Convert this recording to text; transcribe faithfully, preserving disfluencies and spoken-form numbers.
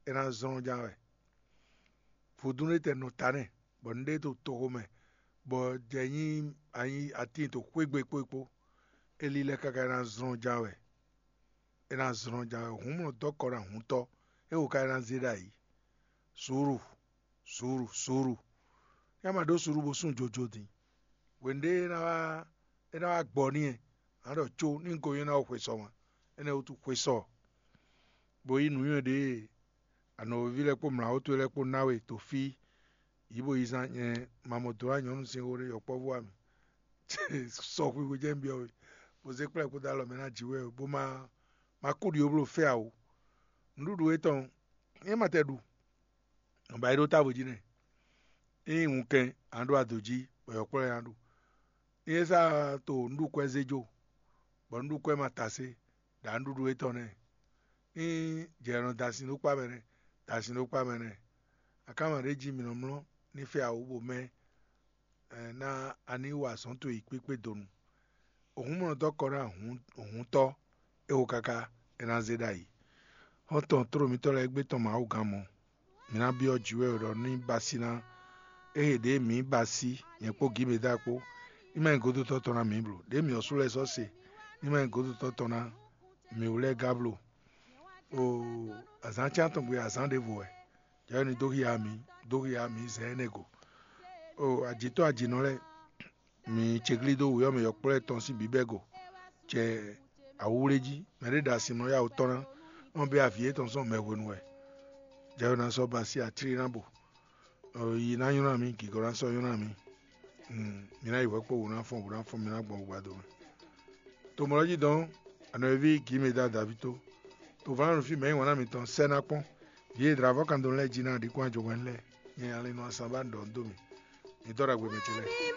é ná zlɔ́n ján wɛ. Vodún ɖé tɛ nɔ ta nɛ́, bɔ nǔɖé to toxo mɛ, bɔ jɛ nyí anyi atín to xwé gbe kpó é kpó. É lílɛ́ káká é ná zlɔ́n ján wɛ. É ná zlɔ́n ján wɛ. Hǔn mɔ dɔ́ kɔ ná hǔntɔ́, é wo ka é ná zé ɖ'ayǐ. Suúlu, suúlu, suúlu. Yá ma ɖó suúlu bó sún jojo din. Hwenu ɖé é ná wá é ná wá gbɔ n'i, ǎ ɖɔ có ní un ko nyɔ́ ná xwe sɔ ma. Énɛ́ wútu xwe sɔ, bó yí nǔnywɛ́ ɖě anɔ̌ví lɛ́ɛ kpó mlǎwó towe lɛ́ɛ kpó ná we to fí. Yǐ bo yi zán nyɛ ma mɔ dǒ ná nyɔ̌nu sin xó ɖé yɔkpɔ́vú wá mì. Sɔ xwixwi jɛ́n un byɔ́ we, bó zé kplá ɛ kpódó alɔ mɛ ná jǐ wɛ, bó má má kú ɖi ó bló fɛ awo. Nǔɖuɖu étɔn é ma tɛ ɖu, nɔ ba yi ɖó távo jí nɛ́. Ényí wunkɛn a ɖó ado jí, bɔ yɔkpɔ́ lɛ́ɛ ná ɖu. Ényí é sá to nǔɖukwɛ́ zé jó, bɔ nǔɖukwɛ́ ma ta sé, ɖǎ nǔɖuɖu étɔn nɛ́. Ní jɛ nɔ da sin ɖó kpá mɛ nɛ́, da sin ɖó kpá mɛ nɛ́. Akánma ɖé jí mǐ nɔ mlɔ́ ní fɛ awu bó mɛ ná a ní wa azɔ̌ towe yi kpékpé donu. Òhun mɔ dɔ́ kɔ ná òhun tɔ́, é wo káká é ná zé ɖ'ayǐ. Xɔ́ntɔn tló mǐtɔn lɛ́ɛ gbé tɔn Mawu gán mɔ. Mǐ ná byɔ́ jǐ wɛ ɖɔ ní ba sí ná. Ée ɖě mǐ ba sí, nyɛ kpó Gǐmeda kpó, ní ma nyí godotɔ́ tɔn ná mǐ blo. Ɖě mǐ ɔ́ sú lɛ́ɛ sɔ́ se, ní ma nyí godotɔ́ tɔn ná mǐ wú lɛ́ɛ gá blo. Oo, azǎn cán tɔn gbe azǎn ɖěvo wɛ. Jǎwe ní dó hiya mǐ, dó hiya mǐ zɛ énɛ́ go. Oo, ajǐtɔ́ ajǐnɔ lɛ́ɛ, mǐ céglí dó wǔyɔ́ mɛ yɔkplɔ́ tɔn sín bǐbɛ́ go, cɛ awúwlé jí. Mɛ ɖé ɖo asimlɔ yá wǔ tɔn ná, nɔ bɛ avǐ yětɔn sɔn mɛ hwenu wɛ. Jǎwe ná sɔ́ ba sí atlí ná bo. Yi ná nylá mì, gǐgɔ́ ná sɔ́ nylá mì. Mi ná yi hwɛ̌ kpó wǔ ná fɔ́n, wǔ ná fɔ́n, mi ná gbɔn wǔgbado mɛ. To mɔ̌ lɔ́ jí dɔn, anɔ̌ví Gǐmeda Daví tó. To vǎnnu fí mɛ nyí wǎn ná mitɔn sɛ́ ná kpɔ́n. Vǐ e dlǎvɔ́ kan dó lɛ́ɛ jí ná ɖi kún ajɔhwɛ́n lɛ́ɛ. Nyɛ Alinu Asanbá ɖɔ dó mi. Mi dɔ́ ɖagbe mɛ ce lɛ́ɛ.